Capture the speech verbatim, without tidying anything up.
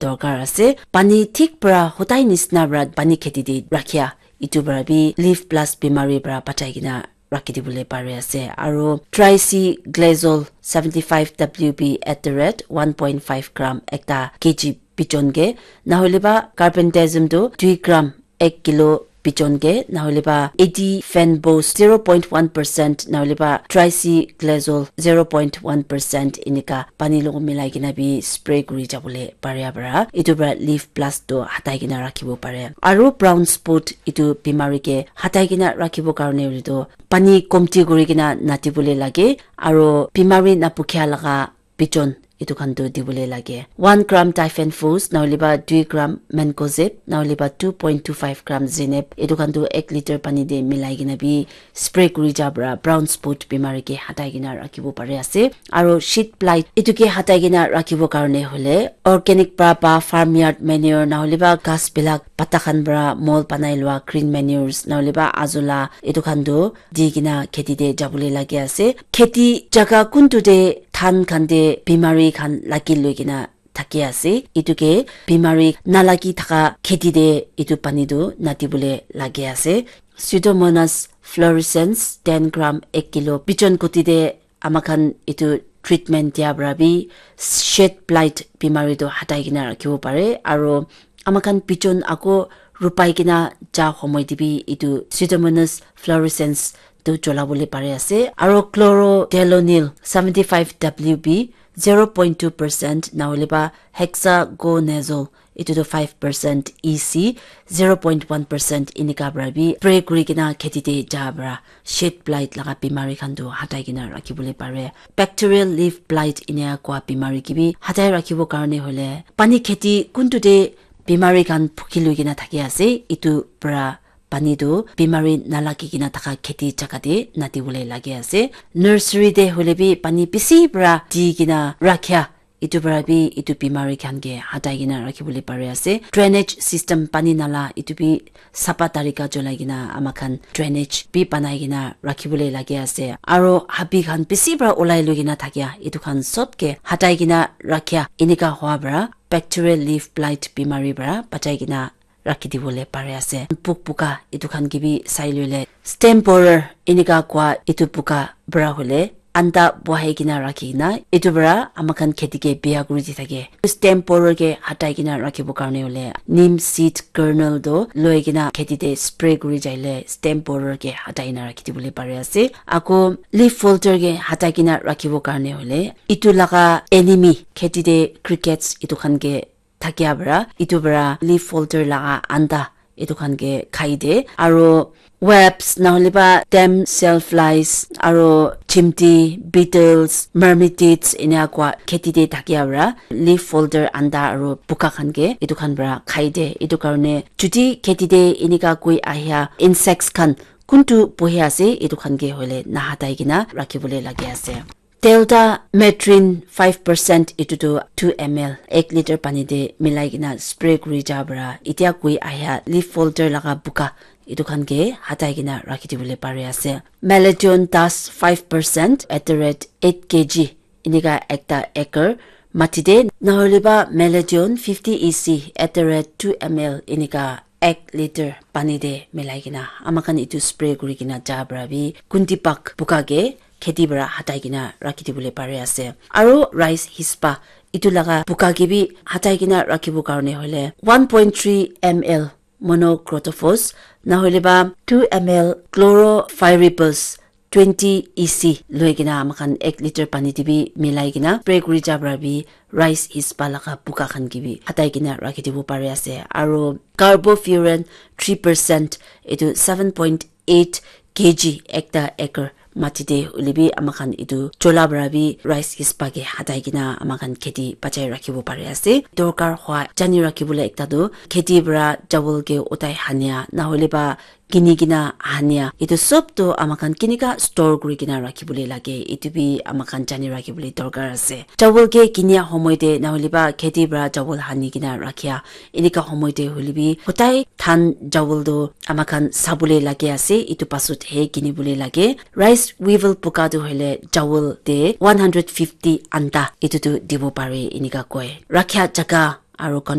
dorkar ase. Pani thik para hotai nisna para pani kheti te rakhia, etu para bi leaf blast bimari para bachai kena rakhi dibole pari ase. Aro tricy glazole seventy five W B at the rate one point five gram ekta K G bichon ke, nahole ba carbendazim tu dui gram ek kilo bichon ke, nahole ba eighty fenbos zero point one percent, nahole ba tricy glazole zero point one percent enika pani logo milai kena bi spray kuri jabole pare para. Etu para leaf blast tu hatai kena rakhibo pare. Aro brown spot etu bimari ke hatai kena rakhibo karne hoile tu pani komti kuri kena natibole lage, aro bimari napukhia laga bichon etu khan tu dibole lage. One gram typhon fus, nahole ba dui gram mancozeb, nahole ba two point two five gram zeneb, etu khan tu ek liter pani te milai kena bi spray kuri ja para brown spot bimari ke hatai kena rakhibo pari ase. Aro shit blight etu ke hatai kena rakhibo karne hoile organic para ba farmyard manure, nahole ba ghas bilak pata khan para mol banai lua green manures, nahole ba azola, etu khan tu di kena kheti te jabole lage ase. Kheti jaga kuntu te dhan khan te bimari khan lagi loi kena thaki ase. Etu ke bimari nalagi thaka kheti te etu pani tu natibole lage ase. Pseudomonas fluorescens ten gram ek kilo bichon kuti te ama khan etu treatment dia para bi shit blight bimari tu hatai kena rakhibo pare. Aro ama khan bichon ako rupai kena ja homoi te bi etu Pseudomonas fluorescens tu chola bole pare ase. Aro chlorothalonil seventy five W B zero point two percent, nahole ba hexaconazole etu tu five percent E C, zero point one percent enika para bi spray kuri kena kheti te ja para shit blight laga bimari khan tu hatai kena rakhi bole pare. Bacterial leaf blight enika kua bimari ke bi hatai rakhibo karne hoile pani kheti kuntu te bimari khan phuki loi kena thaki ase, etu para pani tu bimari nalagi kena thaka kheti jaga te natibole lage ase. Nursery te hoile bi pani bisi para di kena rakhia, etu para bi etu bimari khan ke hatai kena rakhi bole pari ase. Drainage system pani nala etu bi sapa tarika cholai kena ama khan drainage bi banai kena rakhi bole lage ase. Aro habi khan bisi para ulai loi kena thakia etu khan sob ke hatai kena rakhia enika hua para bacterial leaf blight bimari para bachai kena rakhi dibole pare ase. Puk puka etu khan ke bi sai loile stem borer enika kua etu puka para hoile anta bohai kena rakhi kena etu para ama khan kheti ke biya kuri di thake. Stem borer ke hatai kena rakhibo karne hoile neem seed kernel tu loi kena kheti te spray kuri jaile stem borer ke hatai kena rakhi dibole pare ase. Ako leaf folder ke hatai kena rakhibo karne hoile etu laga enemy kheti te crickets etu khan ke thakia para etu para leaf folder laga anta etu khan ke khai de. Aro wasps nahole ba damsel flies aro chimti beetles mermitids enika kua kheti te thakia para leaf folder anta aro puka khan ke etu khan para khai de. Etu karne chuti kheti te enika koi ahia insects khan kuntu bohi ase etu khan ke hoile nahatai kena rakhi bole lage ase. Delta Metrin five percent etu tu two M L ek liter pani te milai kena spray kuri ja para etia koi ahia leaf folder laga buka etu khan ke hatai kena rakhi dibole pari ase. Maladon dust five percent at the rate eight K G enika ekta acre mati te nahole ba Maladon fifty E C at the rate two M L enika ek liter pani te milai kena ama khan etu spray kuri kena ja para bi kunti pak buka ke kheti para hatai kena rakhi dibole pari ase. Aro rice hispa etu laga buka ke bi hatai kena rakhibo karne hoile one point three M L monocrotophos nahole ba two M L chloropyrifos twenty E C loi kena ama khan ek liter pani te bi milai kena spray kuri ja para bi rice hispa laga buka khan ke bi hatai kena rakhi dibo pari ase. Aro carbofuran three percent etu seven point eight K G ekta acre mati te hoile bi ama khan etu chola para bi rice hispa ke hatai kena ama khan kheti bachai rakhibo pari ase. Dorkar hua jani rakhi bole ekta tu kheti para chawal ke utai hania nahole ba kini kena hania etu sob tu ama khan kinika store kuri kena rakhi bole lage etu bi ama khan jani rakhi bole dorkar ase. Chawal ke kinia homoi te nahole ba kheti para chawal hani kena rakhia enika homoi te hoile bi hotai dhan chawal tu ama khan sabole lage ase etu pasut he kini bole lage. Rice weevil puka tu hoile chawal te one hundred fifty anta etu tu dibo pare enika koi. Rakhia jaga aro